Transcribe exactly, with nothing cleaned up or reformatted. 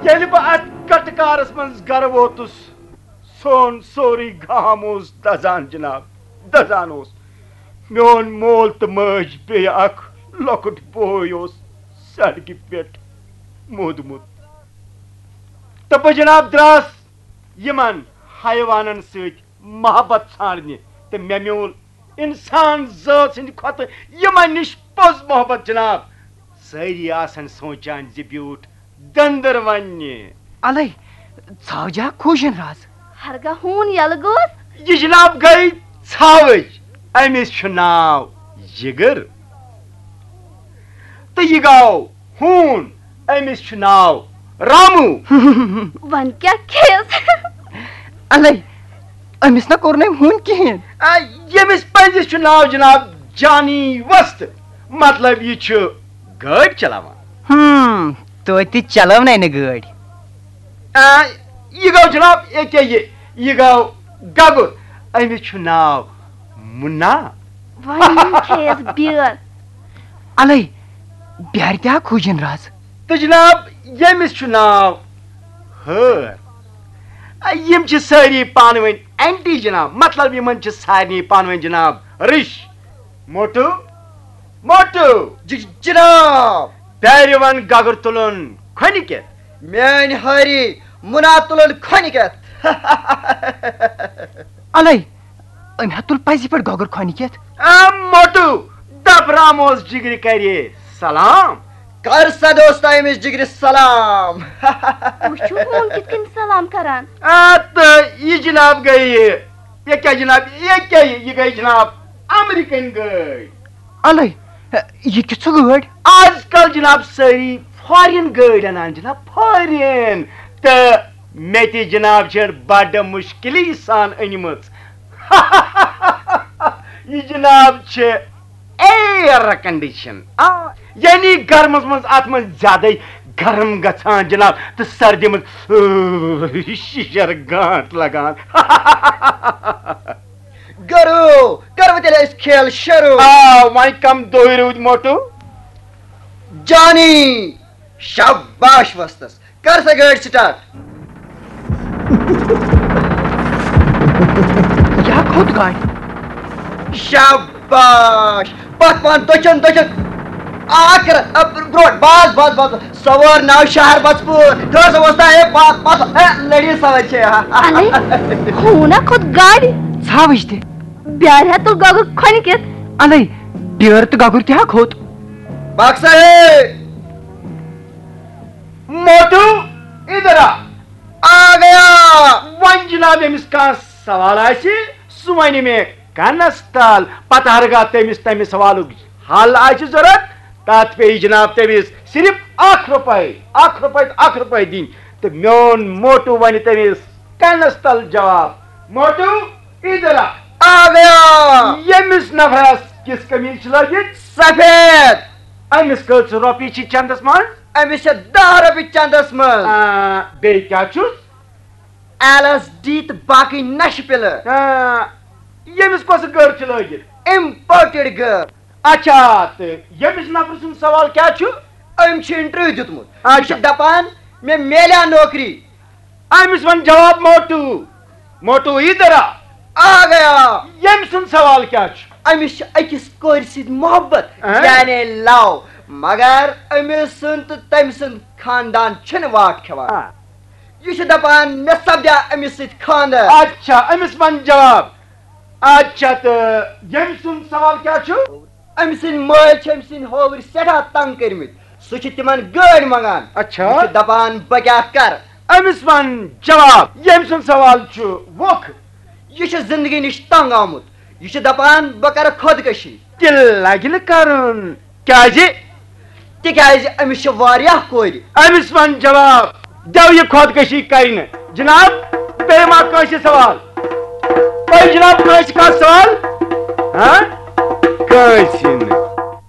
ییٚلہِ بہٕ اتھ کٹہٕ کارس منٛز گرٕ ووتُس، سون سورُے گام اوس دزان جناب، دزان اوس۔ میون مول تہٕ مٲج، بیٚیہِ اکھ لۄکُٹ بوے اوس سڑکہِ پٮ۪ٹھ موٗدمُت۔ تہٕ بہٕ جناب دراس یِمن حیوانن سۭتۍ محبت ژھانڈنہِ، تہٕ مےٚ میوٗل انسان ذٲژ ہٕنٛدِ کھۄتہٕ یِمن نِش پوٚز محبت جناب۔ سٲری آسن سونچان زِ بیوٗٹھ دٔنٛدٕر وننہِ۔ الے، ژھاوجا کھوٗجِن راز۔ ہرگاہ ہوٗن یَلہٕ گوٚو۔ یہِ جناب گٔے ژھاوٕج، أمِس چھُ ناو جِگر۔ تہٕ یہِ گوٚو ہوٗن، أمِس چھُ ناو راموٗ۔ وۄنۍ کیٛاہ کھیٚیَس؟ الے، أمِس نہ کوٚر نہٕ أمۍ ہوٗن کِہیٖنۍ۔ آ، ییٚمِس پنٛزِس چھُ ناو جناب جانی وستہٕ، مطلب یہِ چھُ گٲڑۍ چلاوان۔ ہم، توتہِ چلٲونَے نہٕ گٲڑۍ۔ آ، یہِ گوٚو جناب، ییٚکیٛاہ یہِ، یہِ گوٚو گگُر، أمِس چھُ ناو مُنا۔ وۄنۍ کھیٚیَس بیٛٲر۔ الے، بیٛارِ تہِ ہا کھوٗجِن راز۔ تہٕ جناب، ییٚمِس چھُ ناو ہٲر۔ آ، یِم چھِ سٲری پانہٕ ؤنۍ اینٹی جناب، مطلب یِمن چھِ سارنٕے پانہٕ ؤنۍ جناب رِش۔ Motto, motto. جی، جناب۔ پیرِ ون گگر تُلُن کھۄنہِ کٮ۪تھ۔ میٲنۍ ہٲری مُنا تُلُن کھۄنہِ کٮ۪تھ۔ الے، أمۍ ہا تُل پزی پٮ۪ٹھ گگر کھۄنہِ کٮ۪تھ۔ آ، موٹو، دپ راموس جگرِ کرِ سلام۔ کر سا دوستا أمِس جگرِ سلام۔ وٕچھِو، ہوٗن کِتھ کٔنۍ سلام کران۔ آ، تہٕ یہِ جناب گٔیہِ، یہِ کیٛاہ جناب، یہِ کیٛاہ، یہِ گٔے جناب امریکن گٲڑۍ۔ الے، یہِ کِژھ گٲڑۍ؟ آز کل جناب سٲری فارین گٲڑۍ انان جناب، فارین۔ تہٕ مےٚ تہِ جناب چھِ بڑٕ مشکلی سان أنمٕژ۔ یہِ جناب چھِ ایئر کنڈیشن۔ آ، یعنی گرمس منٛز اتھ منٛز زیادے گرم گژھان جناب، تہٕ سردی منٛز، اۭ، شِشر گانٹ لگان۔ گرو، کرو تیٚلہِ أسۍ کھیل شروع۔ آ، وۄنۍ کم دۄہہِ روٗدۍ موٹو؟ جانی، شاباش وستس، کر سا گٲڑۍ سٹارٹ۔ کیٛاہ کھوٚت گاڑِ؟ شاباش، پتھ پہن دٔچھُن، دٔچھُن۔ آ، کر، آ، برٛونٛٹھ، بس، بس، بس۔ سوار ناو شہر بس پوٗر۔ تھٲو سا وۄستا، ہے، پتھ، پتھ، ہے، لٔڑی سوٲرۍ چھے۔ الے، ہوٗنا کھوٚت گاڑِ۔ ژھاوٕج تہِ۔ بیٛارِ ہا تُل گۄگُر کھۄنہِ کٮ۪تھ۔ الے، بیٛٲر تہٕ گۄگُر تہِ ہا کھوٚت۔ باغ صاحب۔ موٹو، ادھر آ۔ آ گیا۔ وۄنۍ جناب ییٚمِس کانٛہہ سوال آسہِ، سُہ وَنہِ مےٚ کنس تل۔ پتہٕ ہرگاہ تٔمِس تَمہِ سوالُک حل آسہِ ضروٗرت، تَتھ پیٚیہِ جناب تٔمِس صرف اکھ رۄپے، اکھ رۄپے تہٕ اکھ رۄپے دِنۍ۔ تہٕ میون موٹو وَنہِ تٔمِس کنس تل جواب۔ موٹو، ادھر آ۔ آ گیا۔ ییٚمِس نفرس کِژھ قمیٖض چھِ لٲگِتھ؟ سفید۔ أمِس کٔژ رۄپیہِ چھِ چندس منٛز؟ أمِس چھِ دَہ رۄپیہِ چندس منٛز۔ آ، بیٚیہِ کیٛاہ چھُس؟ ایل ایس ڈی تہٕ باقٕے نشہٕ پِلہٕ۔ آ، ییٚمِس کۄس گٔر چھِ لٲگِتھ؟ امپورٹڈ گٔر۔ اچھا، تہٕ ییٚمِس نفرٕ سُنٛد سوال کیٛاہ چھُ؟ أمۍ چھُ انٹرویو دیُتمُت۔ یہِ اچھا۔ چھُ دپان، مےٚ میلیٛا نوکری؟ أمِس وَن جواب موٹو۔ موٹو ادھر آ۔ آ گیا۔ ییٚمۍ سُنٛد سوال کیٛاہ چھُ؟ أمِس چھُ أکِس کورِ سۭتۍ محبت، اہن۔ یعنی لو، مگر أمِس سُنٛد تہٕ تٔمۍ سُنٛد خاندان چھُنہٕ واٹھ کھٮ۪وان۔ آ۔ یہِ چھُ دپان، مےٚ سپدیا أمِس سۭتۍ خانٛدر۔ اچھا، أمِس وَن جواب۔ اچھا، تہٕ ییٚمۍ سُنٛد سوال کیٛاہ چھُ؟ أمۍ سٕنٛدۍ مٲلۍ چھِ أمۍ سٕنٛدۍ ہووٕرۍ سٮ۪ٹھاہ تنگ کٔرمٕتۍ۔ سُہ چھُ تِمن گٲڑۍ منٛگان۔ اچھا۔ یہِ چھُ دپان، بہٕ کیٛاہ کرٕ؟ أمِس وَن جواب، ییٚمۍ سُنٛد سوال چھُ ووکھٕ۔ یہِ چھُ زندگی نِش تنگ آمُت۔ یہِ چھُ دپان، بہٕ کرٕ خودکشی۔ تہِ لگہِ نہٕ کرُن۔ کیٛازِ؟ تِکیٛازِ أمِس چھِ واریاہ کورِ۔ أمِس وَن جواب، دٮ۪و یہِ خودکشی کرِ نہٕ۔ جناب، بیٚیہِ ما کٲنٛسہِ سوال؟ تۄہہِ جناب کٲنٛسہِ کانٛہہ سوال؟ ہاں؟ کٲنٛسہِ نہٕ۔